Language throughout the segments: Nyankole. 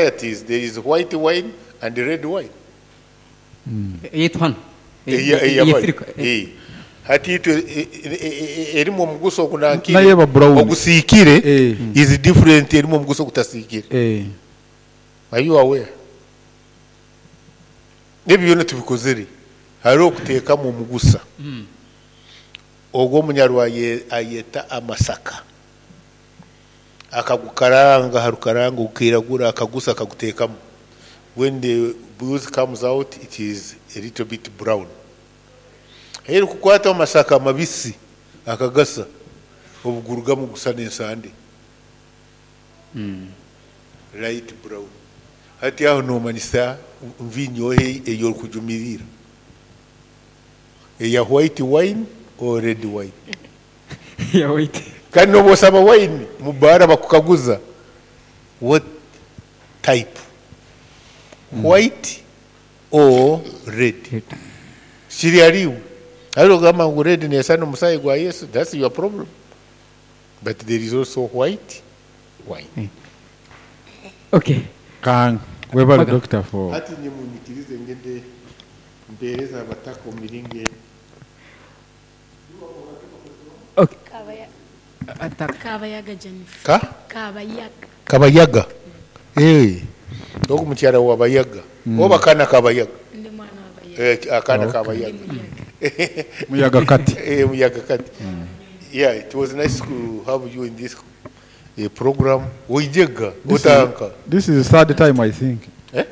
Varieties, there is white wine and red wine. Eyaitu hanu Eya eya eya bari. Afirika. Eh. Hati itwe e- e- e- erimu omugusa ogunankire Nayo eba brown. ogusiikire Eh. is different erimu omugusa ogutasiikire. Eh. Are you aware? Ebi byona tubikozere hariho okuteekamu omugusa. Ogwo omunyarwa aye- ayeta amasaka. Akagukaranga aha rukaranga gukairagura akagusa akaguteekamu. When the booze comes out it is a little bit brown. Ahi erikukwata amasaka mabisi akagasa obugurugamu gusa n'ensande. Light brown. Hati aho nomanyisa nviinyo ehi ei orikujumirira? Eya white wine or red wine? Eya white. Kandi n'obu osaba wine omu baara bakukaguza what type, white or red? Kiri ahariiwe. Haza ogamba ngu red neesana omusaayi gwa Yesu, that's your problem. But there is also white wine. Okay. Kang, webale Maga. doctor for Hati inye munyikirize ngende mpeereze abataka omu miringo egi. Okay. Kabaya, Ataka. Kabayaga Jennifer. Ka? Kabayaga. Kabayaga. Eh. Ogu mukyara wa Bayaga. Oba akaana ka Bayaga. Ndi mwana wa Bayaga. Eh, akaana ka Okay. Bayaga. Ndi muyaga. Muyaga kati. Eh, muyaga kati. Yeah, it was nice to have you in this program. Oijega, This is, otanka. this is the third time I think. Eh?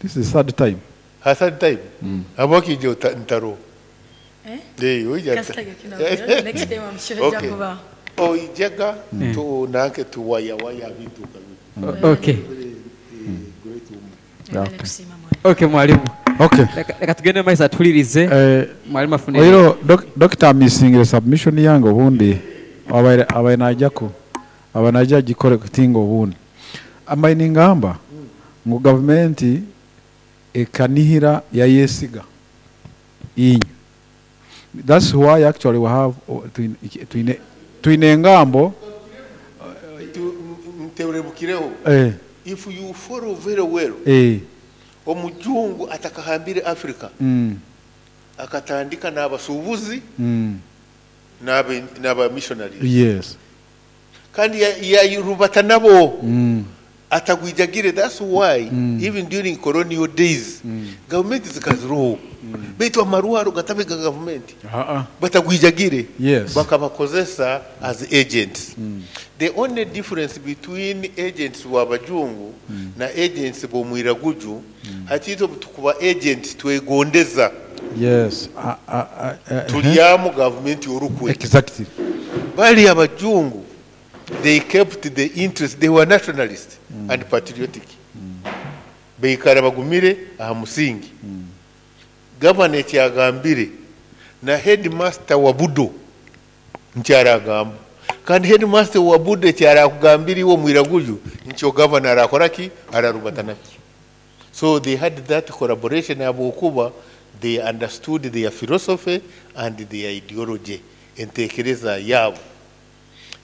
This is the third time. Ha third time. Habwaki ije ntaro. Eh? Eh, oija. Kasitaga kino. Next time I'm sure Okay. jakuba. Oijega tu nanke tu waya waya bintu kabi. Okay. Great woman. Mwebale Okay. kusiima mwalimu. Okay mwalimu. Okay. Leka leka tugende mu maiso atuhulirize. Eh, Mwalimu afune. oiro doc, doctor misingire submission yange obundi abaire abaire najako aba naija agikore kutinga obundi ambaye ningamba ngu gavumenti ekanihira yayesiga inyu. That's why actually we have twine twine twine engambo Nterebukireho. eh, If you follow very well, eh, omujungu atakahambire Africa akatandika n'abasuubuzi n'aba missionaries. Yes. Kandi yayirubata nabo atagwijagire. That's why even during colonial days gavumenti zikaziroho baitu amaruharo gatabe ga gavumenti batagwijagire. Yes. Bakabakozesa as agents. The only difference between agents b'abajungu na agents b'omwiraguju, hati itwe tukuba agents twegondeza. Yes. Tulyamu gavumenti orukwe. Exactly. Bali abajungu they kept the interest, they were nationalist and patriotic. Baikara bagumire aha musingi. Gavana ekyagambire na headmaster wa Budo nkyaragamba, kandi headmaster wa Budo ekyarakugambire iwe omwiraguju nkyo gavana arakora ki ararubata nakyo. So they had that collaboration habwokuba they understood their philosophy and their ideology, entekereza yaabo.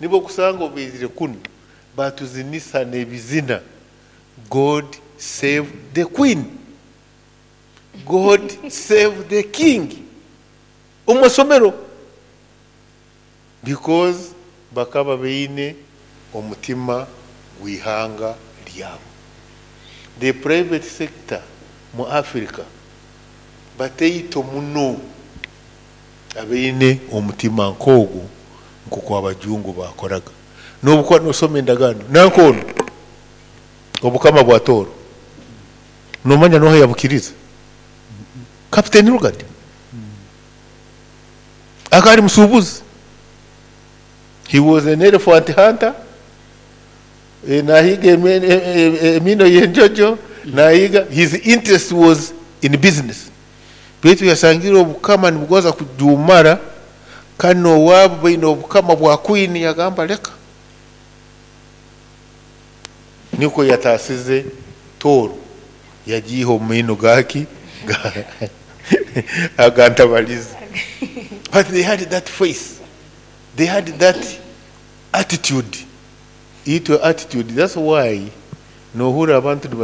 Nibo kusanga obaizire kunu batuzinisa n'ebizina God save the queen, God save the king omu masomero, because bakaba baine omutima gw'ihanga ryabo. The private sector mu Africa bateito muno abaine omutima nk'ogwo nk'oku abajungu bakoraga. N'obukuba nosoma endagaano nankono obukama bwa Tooro nomanya noha yabukiriza? Captain Lugard akaba musuubuzi. He was an elephant hunter. Nahiga emino y'enjojo nahiga. His interest was in business, baitu yasangire obukama nibugoza kujumara kandi nowaabo baine obukama bwa queen, yagamba leka niko yatasize Tooro yagiiha omu maino gaki agantabaliza. But they had that face, they had that attitude, itwe attitude. That's why Nohurira abantu niba.